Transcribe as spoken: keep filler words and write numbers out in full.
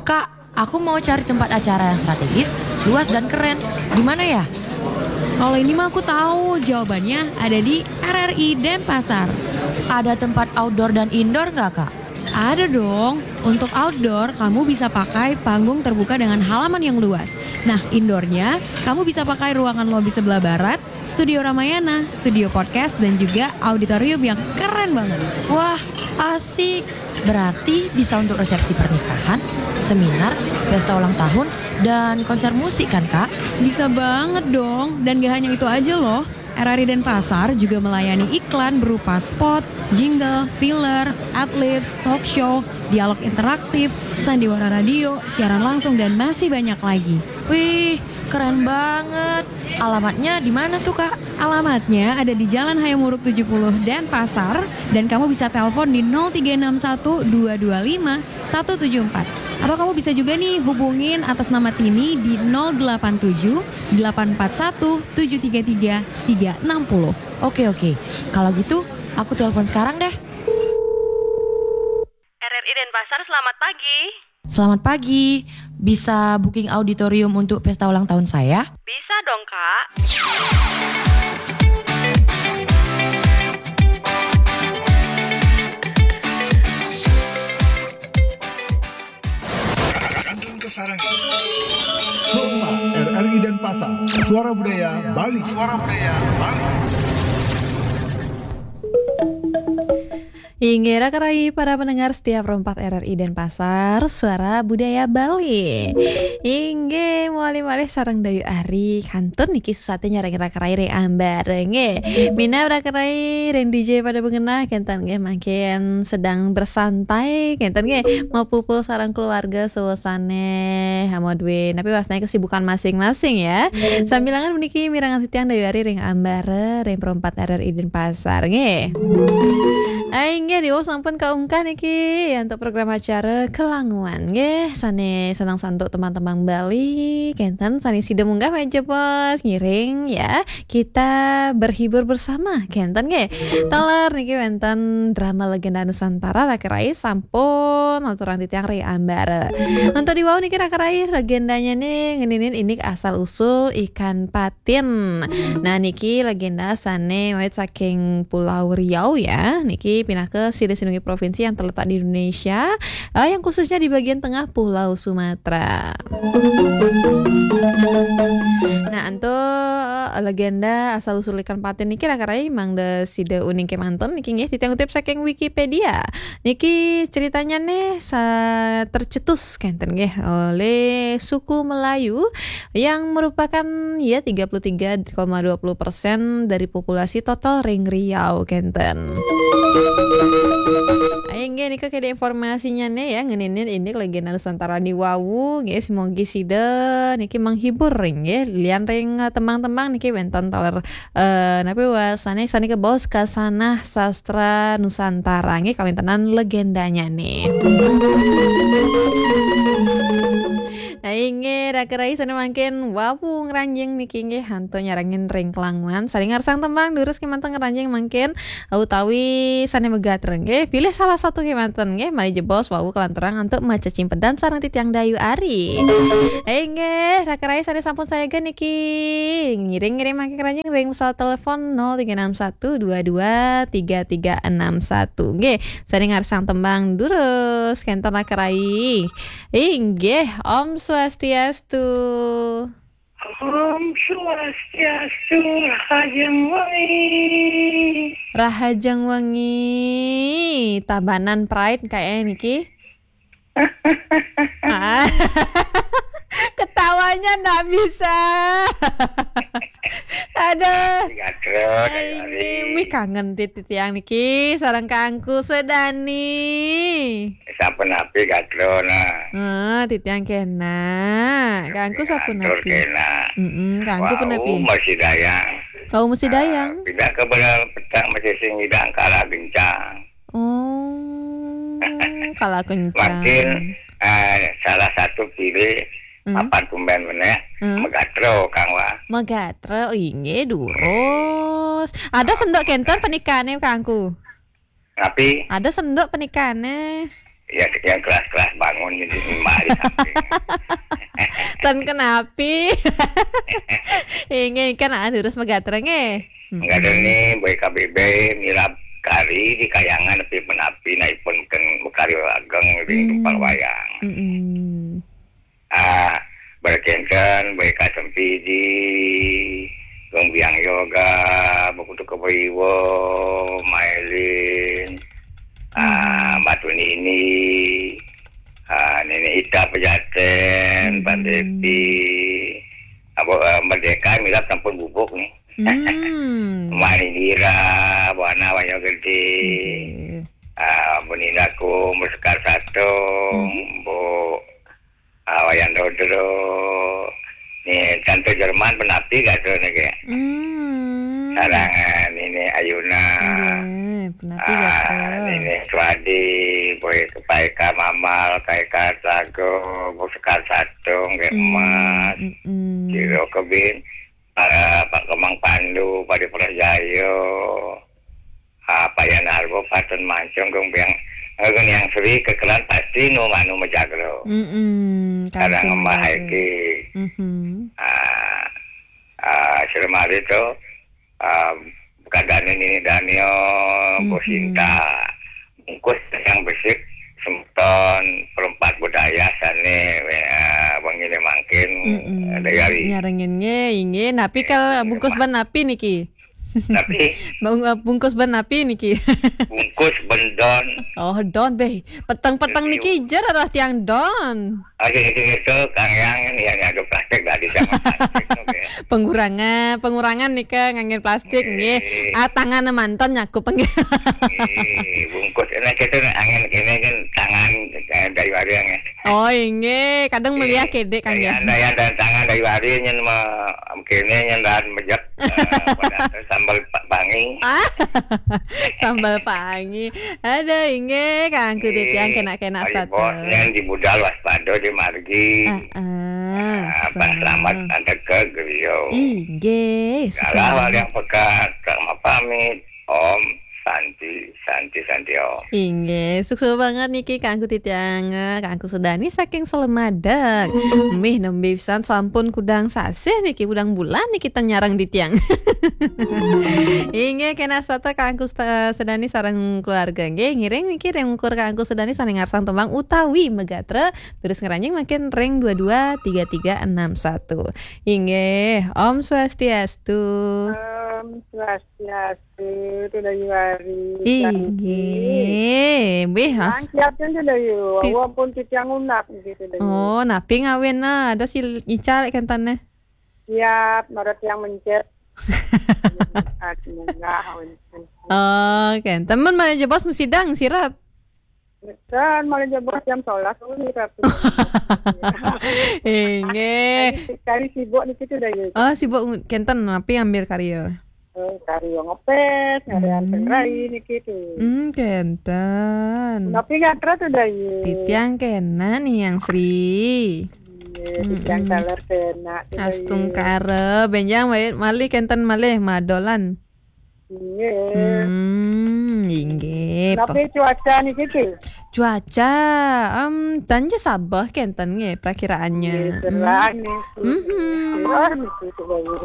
Kak, aku mau cari tempat acara yang strategis, luas dan keren. Di mana ya? Kalau ini mah aku tahu, jawabannya ada di R R I Denpasar. Ada tempat outdoor dan indoor nggak, Kak? Ada dong. Untuk outdoor, kamu bisa pakai panggung terbuka dengan halaman yang luas. Nah, indoornya, kamu bisa pakai ruangan lobi sebelah barat, studio Ramayana, studio podcast, dan juga auditorium yang keren banget. Wah, asik. Berarti bisa untuk resepsi pernikahan, seminar, pesta ulang tahun, dan konser musik kan, Kak? Bisa banget dong. Dan gak hanya itu aja loh. R R I Denpasar juga melayani iklan berupa spot, jingle, filler, adlibs, talk show, dialog interaktif, sandiwara radio, siaran langsung, dan masih banyak lagi. Wih, keren banget. Alamatnya di mana tuh, Kak? Alamatnya ada di Jalan Hayam Wuruk tujuh puluh Denpasar, dan kamu bisa telepon di nol tiga enam satu dua dua lima satu tujuh empat. Atau kamu bisa juga nih hubungin atas nama Tini di nol delapan tujuh delapan empat satu tujuh tiga tiga tiga enam puluh. Oke, oke. Kalau gitu, aku telepon sekarang deh. R R I Denpasar, selamat pagi. Selamat pagi. Bisa booking auditorium untuk pesta ulang tahun saya? Bisa dong, Kak. Kantun Kesarangan. Hotma, R R I Denpasar. Suara Budaya Bali. Suara Budaya Bali. Inggih, raka rai para pendengar setia Pro empat R R I Denpasar, Suara Budaya Bali. Inggih, malih-malih sareng Dayu Ari, kantun niki susaté nyarengin raka rai ring ambara, nggih. Minab raka rai ring D J pada bengenah, kénten nggih, mangkin sedang bersantai, kénten nggih, mapupul sareng keluarga, suasana, hamo dué, napi wastané kesibukan masing-masing ya. Sambilangan puniki mirengang titiang Dayu Ari ring ambara, ring Pro empat R R I Denpasar, nggih. Ai, nggih, diwau sampun kaunggah niki, ya, untuk program acara Kelanguan, nggih. Sané seneng santuk tembang-tembang Bali, kénten sané sida munggah malih jebos, ngiring, ya. Kita berhibur bersama, kénten, nggih. Taler niki wénten drama Legenda Nusantara, raka rai sampun aturang titiang ring ambara. Untuk diwau niki raka rai, legendanyané ngeninin indik asal usul ikan patin. Nah, niki legenda sané mawit saking Pulau Riau ya. Niki pinaka silih sinunggil provinsi yang terletak di Indonesia, eh, yang khususnya di bagian tengah Pulau Sumatera. Nah, antuk, eh, legenda asal usul ikan patin niki raka rai mangda sida uning kémanten niki nggih titiang kutip saking Wikipedia. Niki ceritanya nih sa-, tercetus kénten nggih oleh suku Melayu yang merupakan, ya, tiga puluh tiga koma dua puluh persen dari populasi total ring Riau kénten. Ayo nggih, nika kedé informasinya nih ya, ngeninin indik legenda Nusantara diwau nggih, semogi sida niki menghibur ring nggih, lian ring, eh, tembang-tembang niki wénten taler eh, napi wastané sané kabaos kasanah sastra Nusantara nggih kawéntenan legendanya nih. Nah, inggih, raka rai sané mangkin wau ngranjing niki nggih antuk nyarengin ring Kelanguan. Sané ngarsang tembang durus kémanten ngranjing mangkin utawi sané magatra nggih. Pilih salah satu kémanten nggih, malih jebos wau kalanturang antuk macecimpedan sareng titiang Dayu Ari. Inggih, raka rai sané sampun sayaga niki. Ngiring-ngiring mangkin ngranjing ring pesawat telepon nol tiga enam satu dua dua tiga tiga enam satu. Nggih, sané ngarsang tembang durus kénten raka rai. Inggih, Om Swastiastu. Om Swastiastu, rahajeng wengi. Rahajeng wengi, Tabanan Pride kayaknya niki. Ah. Ketawanya ndak bisa. Aduh. Gatra, Dayu Ari. Wih, kangen tit-, titiang niki, sareng Kangku Sedani. Sampun napi gatra, nah. Heeh, titiang kénak. Kangku sampun napi? Kénak. Mm-mm, Kangku pun napi? Wau masih dayang. Wau masih dayang. Ah, pindah ke belah petang masih sing idang kala gencang. Oh, kala kencang. Mungkin, eh, salah satu pilih. Hmm. Papan tumbén menéh, hmm, magatra, Kang, wah. Magatra, oh, inggih, durus. Ada senduk kénten pernikahané, Kangku? Napi? Ada senduk pernikahané? Ya, yang kelas-kelas bangun jadi mbak Tan kenapi. Inggih kan, ah, durus magatra nggih. Magatra ni, boy K B B, mirab kari di kayangan, tapi penapi, na ipun ken kari ageng, ring Hmm. Tumpal wayang. Mm-mm. Ah, berkenten, boy K Sempidi, Gong Biang Yoga, Bakutu Kebaiwo, Mailin, ah, Hmm. Batu Nini, ah, Nini Ita Pejaten, Pak Hmm. Depi, Abo, eh, Merdeka, mirab sampun bubuk ni. Hmm. Mani Nira, Buana Wanyo Gede. Oke. Ah, Bu Nina ku, Bu Sekar Satung, Mhm. Bu, ah, Wayan Dodro. Ni, Tante Jerman penapi gatra ni ke. Hmm. Sarang, ah, Nini Ayuna. Nggih, penapi Ah, gatra. Nini Suadi, Boy Kepaika Mamal, Kaika Sago, Bu Sekar Satung, Gek Hmm, Emas. Mm-mm. Kiro Kebin. Ah, Pak Kemang Pandu, Padi Prajayo, ah, Pak Yan Argo, Patun Mancung, Gung Biang, eh, Gung Yang Sri, kekelan pasti nu manu majagro. Mm-mm, Kadang kangkung Mbah majagro. Haiki. Mhm. Ah, ah, Sri Mari tu, ah, Kadane Nini Daniel, Bu Mhm. Sinta. Bungkus yang besik, semeton, perempat budaya, sane, ah, wengi ne mangkin, Mm-mm. ah, dayari. Nyarengin nggih, inggih. Napi Eh, kal bungkus ban napi niki? Napi? Bung-, eh, bungkus ban napi niki? Bungkus bendon. Oh, don, beh. Peteng-peteng Review. Niki jer arah tiang don. Ah, sing, sing itu, Kang Yang, ini yang ada plastik, dah di zaman plastik, oke. Pengurangan, pengurangan nika ngangge plastik, nggih. Nggih. Ah, tangan mantan nyakup, nggih. Nggih, bungkus. Nah, kita angin kene kan tangan, eh, dari warung, ya. Oh, inggih. Kadang meliah kede, Kang, ya. Daya, daya, daya tangan dari warung, nyen ma-, kene, nyen dahan mejek, eh, pada sambal pa-, pangi. Ah, sambal pangi. Ada, inggih, Kang Kudi tiang kena-kena Ari satu. Bos, nyen di budal waspada di margi. Ah, ah, Ah, Pak Selamat sesama. Antar ke Geriau. Inggih, Kalah sesama. Wali yang pekat, Kak Mapamit. Om Santi, Santi, Santi, Om. Inggih, sukses banget niki Kangku Titiang, Kangku Sedani saking Selemadeg. Mih nembe pisan sampun kudang sasih niki, kudang bulan niki tanyarang titiang. Inggih, kena sata Kangku Sta-, Sedani sareng keluarga. Nggih, ngiring niki ring ukur Kangku Sedani sane ngarsang tembang utawi megatra, terus ngeranjing makin ring dua dua tiga tiga enam satu. Inggih, Om Swastiastu. Om Swastiastu, Tudayu Ari, Inggih, Bih, Mas. Siap, Tudayu. Ti- Walaupun titiang unak, gitu, Tudayu. Oh, napi ngawin, nah, ada si Ical kentane. Siap, marot yang mencet. Munggah, awan. Oh, kenten. Temen mana jebos sidang, sirap? Kan, malah jebos jam sebelas, oh, ini Ratu. Inggih. Kari, kari sibuk niki Tudayu. Oh, sibuk ng-, kenten, napi ambil karya? Oh, karya ngepes, ada Hmm. Anten Rai niki tu. Hmm, kenten. Napi gatra Tudayu? Titiang kena ni yang Sri. Iya, titiang Mm-mm. Taler kena Tudayu. Astungkara, benjang wae malih kenten malih madolan. Inggih. Hmm, inggih. Napi cuaca niki, Ki? Cuaca, em, tanja sabeh kenten nggih prakiraannya. Nggih, cerah niki. Mhm. Cerah niki, Tudayu.